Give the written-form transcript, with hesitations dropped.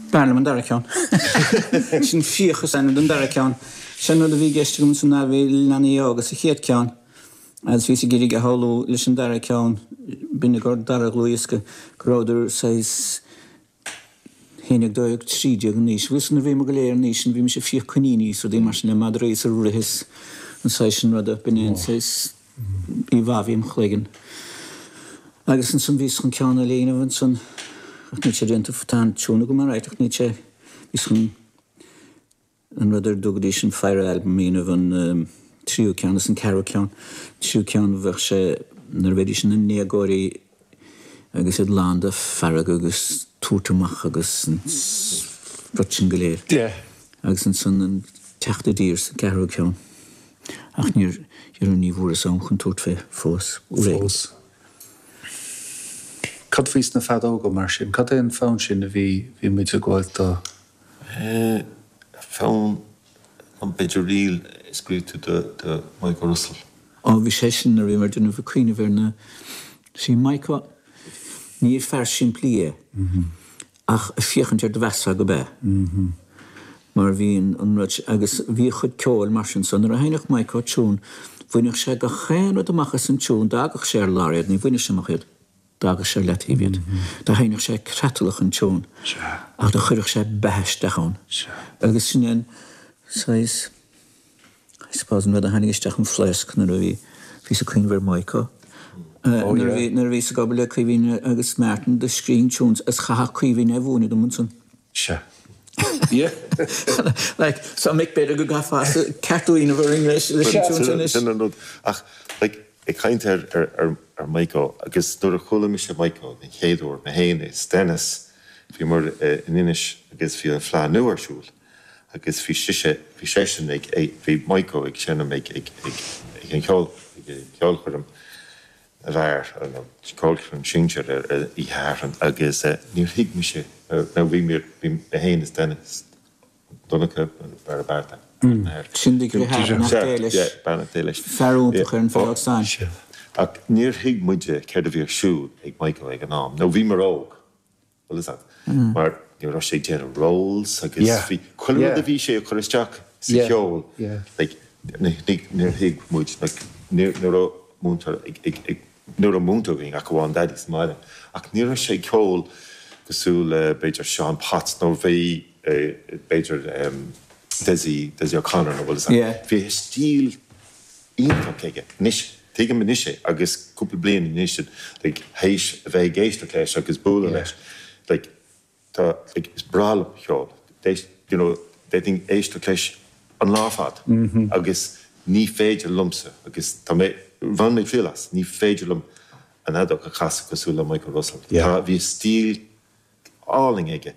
B'fhearr liom an dara ceann. Sin Fiach is ainm don dara ceann. Sin an rud a bhí i gceist agam ansan ná bhí leanaí óga sa chéad ceann agus bhíos ag iarraidh a shamhlú leis an dara ceann, b'in ag an dara dhlúthdhiosca, go rabhadar saghas 11, 12, 13 in aois. Bhí nuair a bhíomar go léir an aois sin bhí mise ag fiach coiníní is rudaí mar sin le madraí is ag rith is an saghas sin ruda. B'in é an saghas íomhá a bhí im chloigeann. Agus ansan bhíos chun ceann eile a dhéanamh ansan ach níl sé déanta, tá an tiún agam alright ach níl sé, bhíos chun an rud ar a dtugaidís an Fire Album a dhéanamh, an tríú ceann is an ceathrú ceann. An tríú ceann bheadh sé nuair a bheidís ina ndéagóirí agus iad lán de fearg agus tabhairt amach agus an rud sin go léir. Agus ansan an teacht i dtír sa gceathrú ceann. Ach níor, ní bhfuaireas am chun tabhairt fé fós. Fós. Cad faoi sna feadóga mar sin? Cad é an fonn sin a bhí, bhí muid ag gabháil do? Fonn, b'fhéidir ríl a scríobh tú do Michael Russell. Ó bhí sé sin nuair a bhí mé ag déanamh ag cuimhneamh ar na, see Michael, ní fear simplí é ach ag féachaint air do mheasfá gurb ea. Mar bhí an rud, agus bhí a chuid ceoil mar sin so nuair a sheinneadh Michael tiún bhainfeadh sé gach aon rud amach as an tiún, d'fhágadh sé ar lár iad, ní bhaineadh sé amach iad. D'fhágadh sé ar leataobh iad. Do sheinneadh sé creatalach an tiún ach do chuirfeadh sé beatha isteach ann. Agus sin é an saghas, I suppose, an rud a tháinig isteach an phléasc nuair a bhí, bhíos ag cuimhneamh ar Michael. Nuair a bhí, nuair a bhíos ag obair le Caoimhín agus Martin do scríobhinn tunes agus chaithfeadh Caoimhín é a mhúineadh dom ansan. Sea. Like, so Mick b'fhéidir go gcaithfeá ceartú a dhéanamh orainn leis an tiún sin anois. Sin an rud. Ach, like, ag caint ar ar Michael agus nuair a chuala mise Michael den chéad uair, mé féin is Dennis, bhíomar in Inis agus bhí an Fleadh Nua ar siúl agus bhí sise, bhí seisean ag, bhí Michael ag seinm ag ag ag ag an cheol, ag an cheolchoirm na bhfear, nó ceolchoirm sinsir ar oíche Shathairn agus níor thuig mise, nó bhí mé féin is Dennis, Donncha, fear bearta. Sin deartháir, beannacht Dé leis. Beannacht Dé leis. Fear iontach ar an bhfeadóg stáin. Ach níor thuig muide céard a bhí ar siúl ag Michael ag an am, nó bhíomar óg, bhfuil fhios agat, mar ní raibh sé ag déanamh rolls agus bhí chuile rud a bhí sé a chur isteach sa cheol, like, níor thuig muid, like, ní raibh múinteoir ag, ní raibh múinteoir againn ach amháin Daidí sa mbaile, ach ní raibh sé ag ceol cosúil le b'fhéidir Seán Potts nó bhí b'fhéidir Dessie, Dessie O'Connor nó bhfuil fhios agat. Bhí stíl iontach aige. Anois, tuigim anois é agus cúpla bliain anois like théis a bheith ag éisteacht leis agus bualadh leis like Tá, like, is breá liom a cheol. D'éist, you know, d'fhéadfainn éisteacht leis an lá ar fad agus ní féidir liomsa, agus tá mé, bhain mé triail as, ní féidir liom an fheadóg a chasadh cosúil le Michael Russell. Tá, bhí stíl álainn aige.